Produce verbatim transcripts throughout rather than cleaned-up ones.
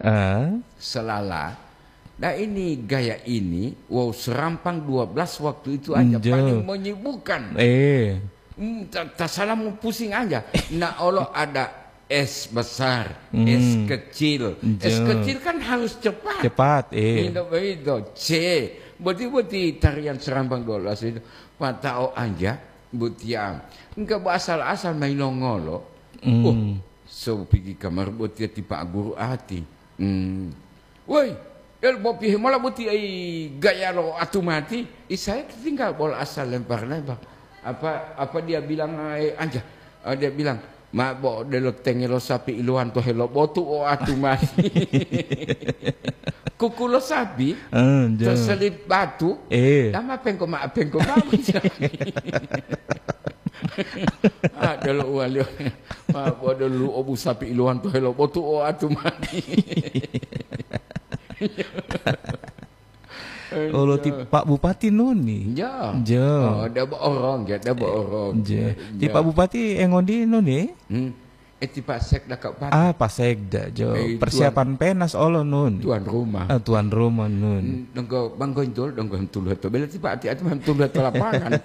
Ah. Selala. Nah, ini gaya ini, wow, serampang dua belas waktu itu aja Njo. paling menyibukkan. Eh. Hmm, ta-, tasalamu pusing aja. Nah, olo ada S besar, Hmm. S kecil. Njo. S kecil kan harus cepat. Cepat, eh. Indah begitu. C. Boti-boti tarian serampang dua belas itu. Patao aja, botia. Enggak bo asal-asal main nongolo. Hmm. Oh, so pigi kamar botia ti Pak Guru ati. Hmm. Woi, el bopi mola boti ai gaya lo atu mati. Isai tinggal bola asal lempar-lempar. Apa, apa dia bilang, eh, anja? Eh, dia bilang, "Ma bo delo tenge lo sapi iluwan to helo botu o atu mati." Kuku lo sapi, Eh, jo. terselip batu, Eh. Dama pengko ma, pengko ma. Ah, delo uwali. Ma bo delo obu sapi iluwan to helo botu o atu mati. Olo ti Pak Bupati nuni. Ja. Ja. Oh, debo orang, ya, debo orang. Ja. Ja. Ti Pak Bupati engondi nuni? Hmm. Eh, ti Pak Sekda Kabupaten. Ah, Pak Sekda, jo. Eh, Persiapan tuan, penas olo nun. Tuan rumah. Ah, tuan rumah nun. Hmm, donggo banggo intul, donggo tulu to. Bela ti Pak ati, ati mam tulu to lapangan.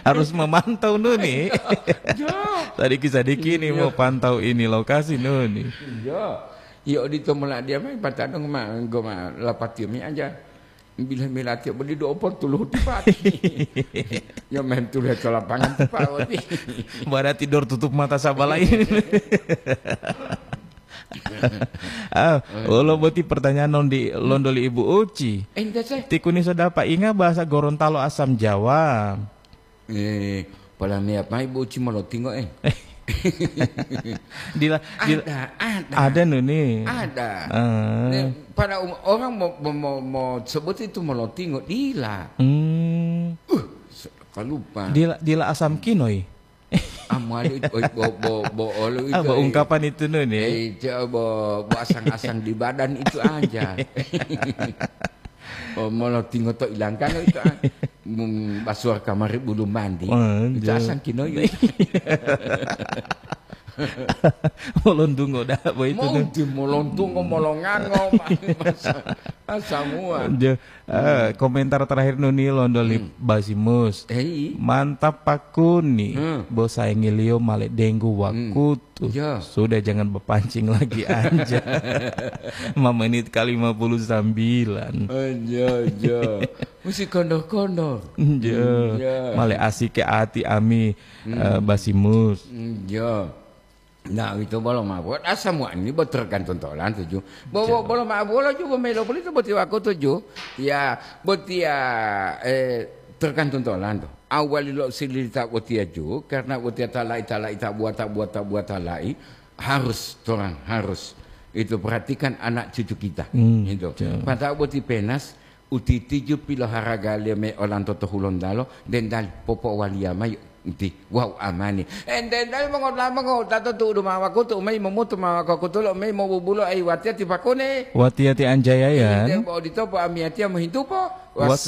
Harus memantau nuni. Ja. Sadiki-sadiki ini Iya. mau pantau ini lokasi nuni. Iya. Iya, odito mola dia mai patadong ma, goma lapatio mi aja. Bila-bila tiap beli do opo tuluhu tipati. Ya main tuluhu to lapangan tipawati. Berarti dor tutup mata sabala ini. Ah, ulo boti pertanyaan non di londo li Ibu Uci. Ente seh. Tikuni so dapat inga bahasa Gorontalo asam Jawa. Eh, pola meyap mai boci molotingo, eh. Dila, dila, Ada, ada. ada nuni. Ada. Ah. Nih, pada um-, orang mau, mau, mau, mau sebut itu molotingo, dila. Hmm. Uh, se-, kalupa. Dila, dila asam kinoi. Amali, oi, bo, bo, bo, olo Ah, itu, bo eh. ungkapan itu nuni. Eh, itu bo, bo asang-asang di badan itu aja. Oh, molotingo to ilangkano itu, ah. Mum, basuar kamari bulu mandi. Oh, Itu iya. asang kinoyo. Molontungo dah, boy itu Mau tuh. di molontungo, molongango, ma-, masa, masa mua. Iya. Eh, Hmm. komentar terakhir nuni londo li Hmm. Basimus. Eh, i. Mantap pakuni. Hmm. Bo saingiliyo male denggu Hmm. wakutu. Tuh, Ya. sudah jangan berpancing lagi aja. Lima menit ke lima puluh sembilan. Aja, aja. Mesti kondor-kondor. Iya. Iya. Male asike ati ami, Hmm. eh, Basimus. Iya. Nah, itu bolo mawat. Asa mua ini buat tergantung tolan tuju. Bo, bo, Iya. bolo ma-, bolo juga melo pulito buat wakutu ju. Ya, buat ya, eh, tergantung tolan tuh. Awali lo silita botia ju, karena botia talai, talai, tabuat, tabuat, tabuat talai, harus, torang harus. Itu perhatikan anak cucu kita. Hmm, Gitu. betul. Pata'o boti penas, utitiju piloharaga liyo me olanto to Hulontalo, dendali popowaliya mayi uti, wau amani. Eh, dendali mongotla mongota to tu'udu ma wakutu, umai momutu ma wakutu lo, umai mobubulo ai watiya ti pakone. Watiya ti Anjaya, ya. Ide bo odito po amiyatiya mohintupo. Was-